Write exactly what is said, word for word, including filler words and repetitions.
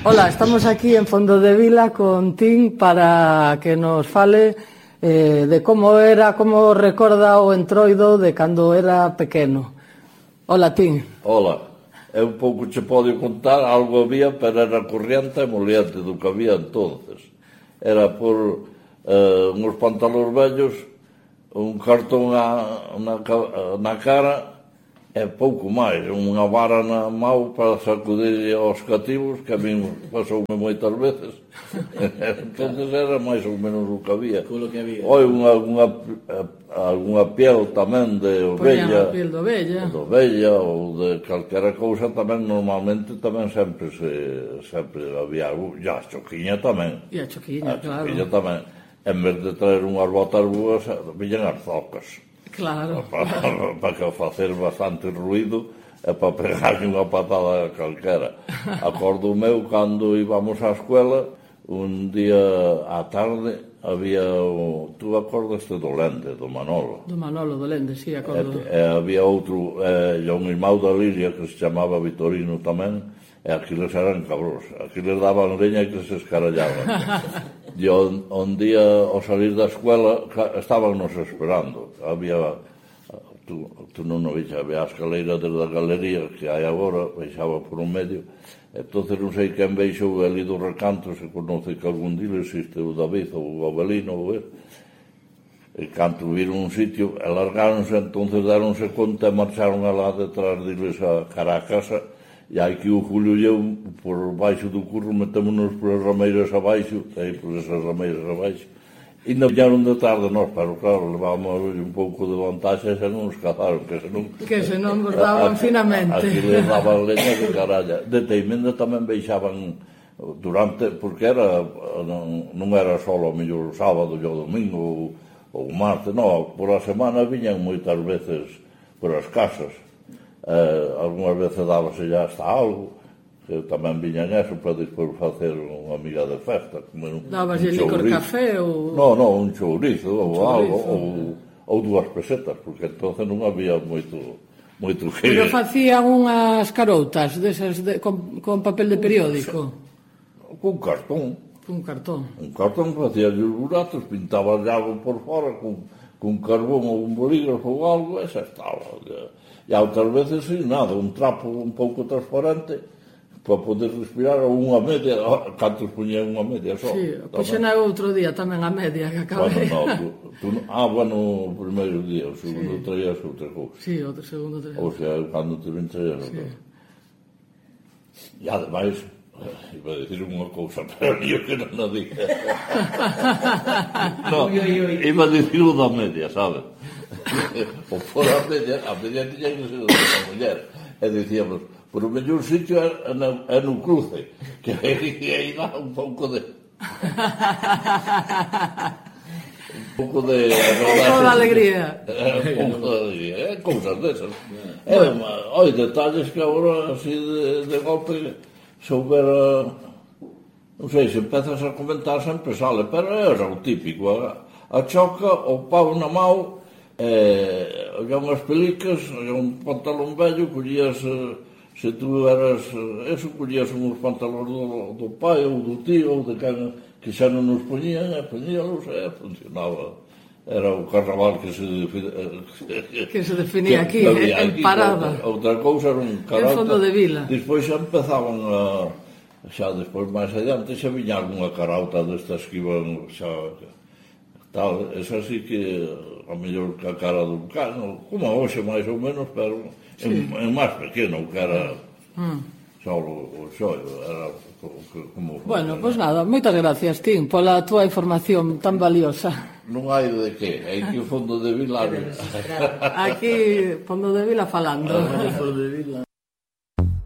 Hola, estamos aquí en Fondo de Vila con Tim para que nos fale eh, de como era, como recorda o entroido de cando era pequeno. Hola, Tim. Hola, é un pouco che podo contar, algo había, pero era corriente e moliente do que había entonces. Era por eh, uns pantalóns vellos, un cartón na, na, na cara e pouco máis, unha vara na mão para sacudir aos cativos, que a mí pasoume moitas veces. Entonces era máis ou menos o que había. Que había. Oi, unha, unha, alguna piel tamén de ovella, piel de ovella. de ovella ou de calquera cousa tamén, normalmente tamén sempre se sempre había algo, e a choquiña tamén. E a choquiña, a claro. choquiña tamén. En vez de traer unhas botas boas, villan as zocas. Claro. Para, para que facer bastante ruido e para pegarlle unha patada calquera. Acordo meu, cando íbamos á escuela, un día á tarde, había o... Tú acordaste do Lende, do Manolo? Do Manolo, do Lende, sí, acordo. E, e había outro, e, e un irmão da Liria, que se chamaba Vitorino tamén, e aquiles eran cabros. Aquiles daban leña e que se escarallaban. E un, un día, ao salir da escuela, estábamos esperando. Había, tú, tú non o viste, había a escaleira desde a galería que hai agora, baixaba por un medio. Entonces non sei quen baixou ali do recanto, se conoce que algún día existe o David ou o Abelino ou el. E canto viron un sitio, alargáronse, entonces daronse conta e marcharon alá detrás deles a cara a casa. E hai que o Julio e eu, por baixo do curro, metémonos por as rameiras abaixo, aí por esas rameiras abaixo, e non viñaron de tarde nós, pero claro, levábamos un pouco de vantaxe e se non nos cazaron, que se non... Que se non nos daban finamente. Aquí les daban leña de caralla. De Teimenda tamén baixaban durante, porque era, non, non era só o mellor o sábado e o domingo ou, ou o martes, non, por a semana viñan moitas veces por as casas. Uh, algunhas veces dábase ya hasta algo, que tamén viñan eso para despois facer unha amiga de festa, comer un, Dabas un licor chourizo. café ou... No, no, un chourizo ou chourizo, algo, ou, ou dúas pesetas, porque entonces non había moito moito que... Pero facían unhas caroutas desas de, con, con papel de periódico. Con cartón. Un cartón. Un cartón facía os buratos, pintaba algo por fora con, con carbón ou un bolígrafo ou algo, e xa estaba. E outras veces, sin nada, un trapo un pouco transparente para poder respirar, ou unha media, cantos poñían unha media só. Sí, pois na outro día tamén a media que acabei. Bueno, no, tú, tú, ah, bueno, o primeiro día, o segundo sí. Traías outra cousa. Sí, o segundo traías. Ou sea, cando te ven traías outra. Sí. E ademais, iba a dicir unha cousa, pero yo que non a diga. No, iba a dicir o da media, sabes? O fora a media, a media tiña que ser da muller. E dicíamos, por o mellor sitio é no, é no cruce, que aí dá un pouco de... un pouco de... Un pouco de alegría. Un pouco de alegría, é cousas desas. É, oi, detalles que agora, así de, de golpe, se houbera... Non sei, se empezas a comentar sempre sale, pero era o típico, a, a choca, o pau na mão, eh, había unhas pelicas, había un pantalón vello, collías, eh, se tú eras, eh, eso, collías uns pantalóns do, do pai ou do tío ou de quen que xa non nos poñían, e poñíalos, e funcionaba. Era o carnaval que se definía, que se definía aquí, que en parada. Outra cousa era un carácter. En Fondo de Vila. Despois xa empezaban a, xa despois máis adiante, xa viña algunha carauta destas que iban xa tal, es así que a mellor que a cara do cano, como a hoxe máis ou menos, pero sí. en, en máis pequeno, que era mm. xa o, o xollo, era como... Bueno, pois pues nada, moitas gracias, Tim, pola túa información tan valiosa. Non hai de que, hai que o Fondo de Vila... Aquí, Fondo de Vila falando. Fondo de Vila.